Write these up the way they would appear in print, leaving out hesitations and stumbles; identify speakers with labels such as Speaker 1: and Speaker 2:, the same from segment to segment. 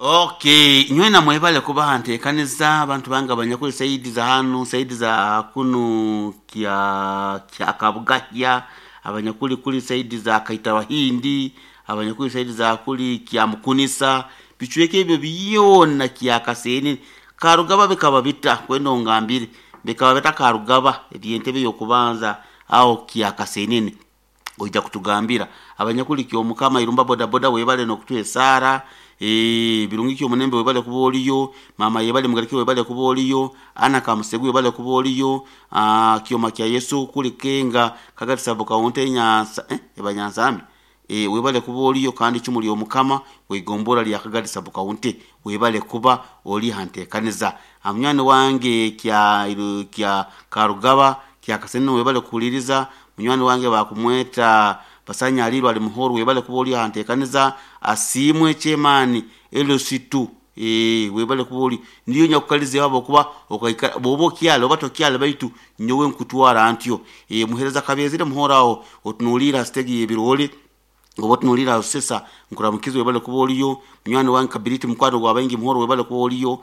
Speaker 1: Okay, nywena mwebale kubaha ntekaniza abantu bange abanyakuli saidi za hanu, saidi za kunu kya kya Kabugahya, abanyakuli kuli saidi za Kaitawahindi, abanyakuli saidi za kuli kya Mukunisa, bicweka ebyo byona kya Kaseene Karugaba bikaba bita kwenda ongambire bikaba bita Karugaba ebyentebe y'okubanza aho kya Kasenene oija kutugambira abanyakuli kyomukama irumba bodaboda webale nokutuha esaara, birungi kyomunembe webale kuba oliyo, mama yebale mugarike webale kuba oliyo, ana kamusegu webale kuba oliyo, kyoma kya Yesu kuli kenga kagati sabo kaunte nyansa eba nyansambi webale kuba oliyo kandi chumuli omukama weigombora lya kagati sabo kaunte webale kuba oli hantekaniza munywani wange kya kya Karugaba kya Kasenene webale kuhuliriza munywani wange bakumweta Basanya alirwa ali muhoro webale kuba oli hantekaniza asimwe chemani elositu webale kuba oli ndiyo nyakukalize wabo kuba okaikara bobo kyalo oba tokyalo baitu nyowe nkutwara ntyo muhereza kabezire muhorao otunulira stegi yebirole oba tunulira sesa nkuramukizo webale kuba oliyo munywani wange Kabiriti mukwano gwa baingi muhoro webale kuba oliyo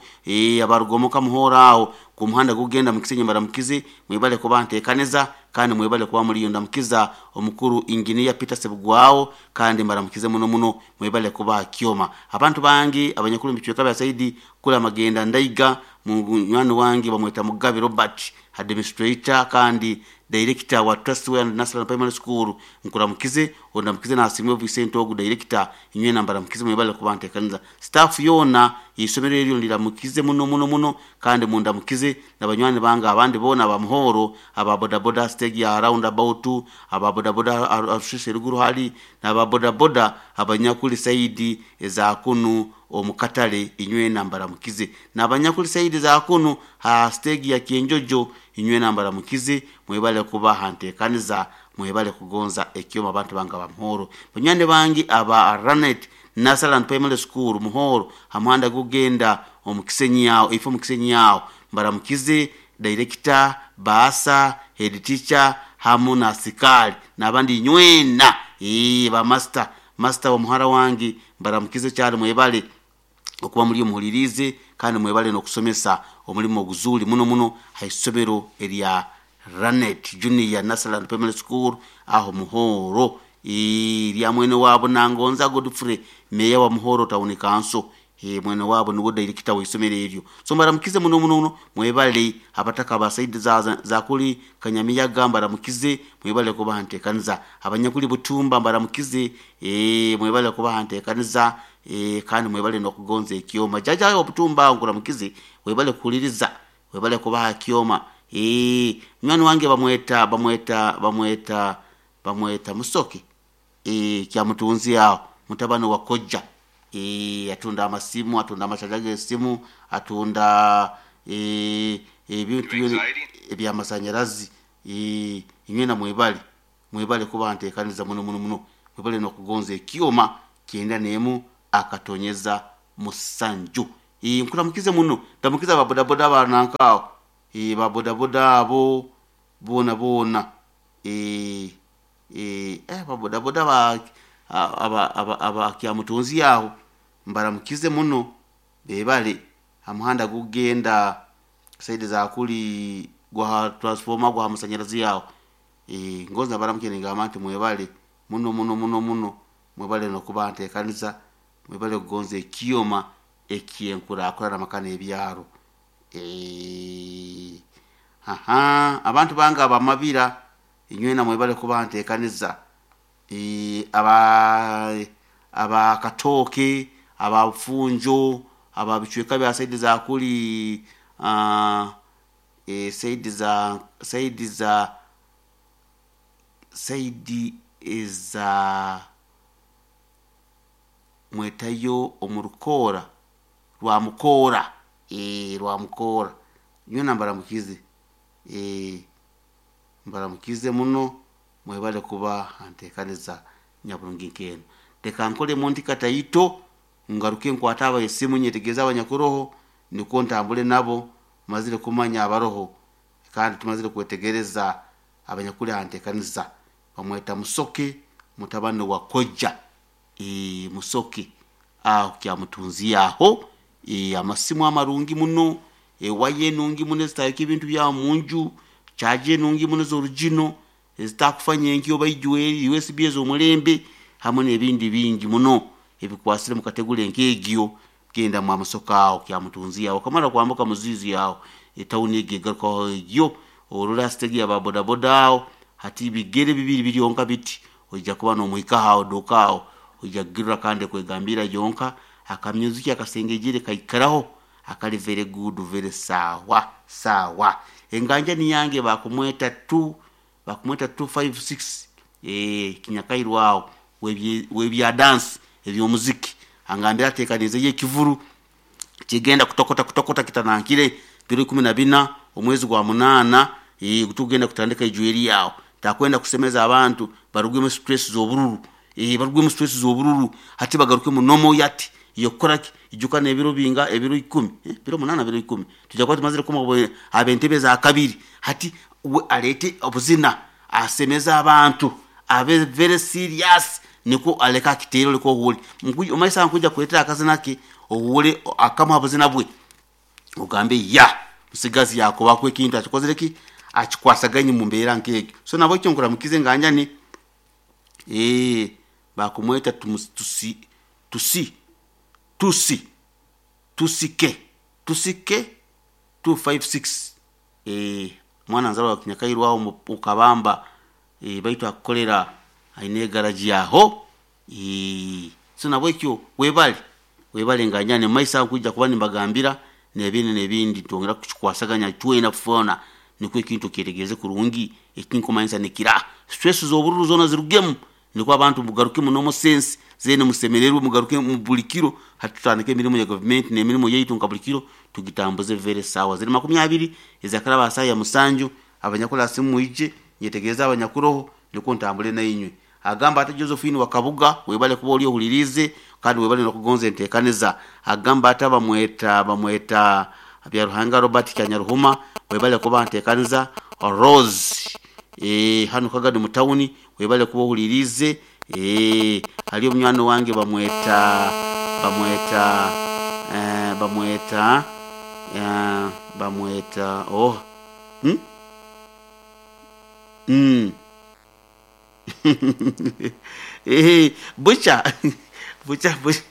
Speaker 1: abarugomoka muhorao ku muhanda gugenda mukisenyi mbaramukize mwebale kuba ntekaniza kandi mwebale kuba muliyo ndamukiza omukuru engineer Peter Sebugwao kandi mbaramukize muno muno mwebale kuba kyoma abantu bangi abanyakuru mbichweka bya saidi kula magenda ndaiga munywani wange bamweta Mugabe Robert administrator kandi director wa Trustware National Primary School nkuramukize ondamukize nasimwe Vincent ogu director inywe nambara mukize mwebale kuba ntekaniza staff yona isomero eryo ndiramukize muno muno muno kandi mundamukize nabanywani banga abandi bona abamuhoro aba bodaboda stage ya roundabout aba bodaboda arushishe ruguru hali naba bodaboda abanyakuli saidi eza kunu omukatale inywe nambara mukize nabanyakuli saidi za kunu ha stage ya Kienjojo inywe nambara mukize mwebale kuba hantekaniza mwebale kugonza ekyoma abantu banga bamuhoro banywani bangi aba Ranet Nasalan Primary School muhoro hamuhanda gugenda omukisenyi yao ifo mukisenyi yao mbaramukize director baasa head teacher hamu na asikali nabandi nywena ba master master wa muhara wangi mbaramukize cyane mwebale okuba muri muhulirize kandi mwebale nokusomesa omulimo oguzuli muno muno haisomero erya Ranet Junior Nasalan Primary School aho muhoro lya mwene wabo nangonza Godfrey meya wa Muhoro Town Council mwene wabo niwo director w'isomero eryo so mbaramukize muno muno mwebale abataka abasaidi za kuli Kanyamiyaga mbaramukize mwebale kuba hantekaniza abanyakuli Butumba mbaramukize mwebale kuba hantekaniza kandi mwebale nokugonza ekyoma jaja wa Butumba nkuramukize webale kuhuliriza webale kuba kyoma munywani wange bamweta bamweta bamweta bamweta Musoke kya mutunzi aho mutabani wa Koja atunda amasimu atunda amachaja g'esimu atunda ebintu ebyamasanyarazi inywe na mwebale mwebale kuba ntekaniza muno muno muno mwebale nokugonza ekyoma kyenda nemu akatonyeza musanju nkuramukize muno ndamukiza ababodaboda banankao babodaboda abo bona bona babodaboda ba aba aba aba kyamutunzi aho mbaramukize muno bebale amuhanda gugenda saidi za kuli gwa transformer gwa musanyarazi yaho ngoza baramukene ngamba nti mwebale muno muno muno muno mwebale nokuba ntekaniza mwebale kugonza ekyoma ekyenkurakurana makana ebyaro aha abantu banga abamabira inywena mwebale kuba ntekaniza aba katoke aba funjo aba bichweka bya saidi za kuli saidi za saidi za saidi za mwetayo omurukora rwa mukora rwa mukora nywena mbaramukize mbaramukize muno mwebale kuba antekaniza nyaburungi nkeno reka nkole munti kataito ngaruke nkwata aba esimu nyetegeza abanyakuroho niko ntambule nabo mazire kumanya abaroho kandi tumazire kwetegereza abanyakuli antekaniza bamweta Musoke mutabani wa Koja Musoke Aho Kyamutunzi aho, amasimu amarungi muno, ewaya enungi muno ezitayokya ebintu byawe munju, chaja enungi muno ez'orugino ezitakufanya enkyo oba ijweri, USB ez'omulembe hamwe n'ebindi bingi muno ebikwasire mu kategore nk'egyo. Genda mwamusoka aho Kyamutunzi aho, okamara kwambuka Muzizi aho, etawuni egyo egarukaho egyo, orora stage ya bodaboda aho, hati bigere bibiri biryonka biti oija kuba nomuhikaho aho duka aho, oija kugirora kandi ekwegambira yonka. Akamyuziki akasengejere kaikaraho akali very good, very sawa sawa. Enganjani yange bakumweta 2, bakumweta 256, kinyakairwe aho webya dance ebyomuziki, angambira atekanizeyo ekivuru kigenda kutokota kutokota kitanankire biro 14 omwezi gwa 8, tugenda kutandika ijweri yawo. Takwenda kusemeza abantu barugwemu stress z'obururu, barugwemu stress z'obururu, hati bagaruke munomo yati yokukoraki ijuka n'ebiro binga, ebiro 10, biro 8, biro 10 tujja kuba tumazire kuma ab'entebe za kabiri. Hati we alete obuzina asemeza abantu abe very serious, niko aleka akiteero leko ohuule omaisa nkuja kuletera akazina ke ohuule akamu abuzina bwe ogambe ya musigazi yakobako ekintu akikozere ki akikwasaganye mu mbeera nk'egyo. So nabwo ekyo nkuramukize nganjani, bakumweta tusi tusi tusi tusike tusike 256, mwana nzarwa wa Kinyakairwe aho mukabamba, baitu akukolera aine egaraji aho. So nabwekyo webale webale nganjani, maisa nkuija kuba nimbagambira nebindi nebindi, twongera kukikwasaganya twena kufona nikwo ekintu kyetegereze kurungi ekinkumanyisa nikira stress z'obururu zona zirugemu, nikwo abantu mugaruke munomo sense zene musemererwe, mugaruke mu buli kiro. Hati tutandike emirimu ya gavumenti n'emirimu yaitu nka buli kiro tugitambuze very sawa. Ziri 20 ezakaraba saa ya 7, abanyakula simu mwije nyetegereza abanyakuroho nikwo ntambule nainywe. Agamba ati Josephine Wakabuga webale kuba oli ohulirize kandi webale nokugonza entekaniza. Agamba ati bamweta Byaruhanga Robert Kyanyaruhuma webale kuba ntekaniza. Rose, hano Kagadi mu tawuni webale kuba ohulirize. Hali omunywani wange bamweta bamweta bamweta bamweta oh bucha bucha bucha.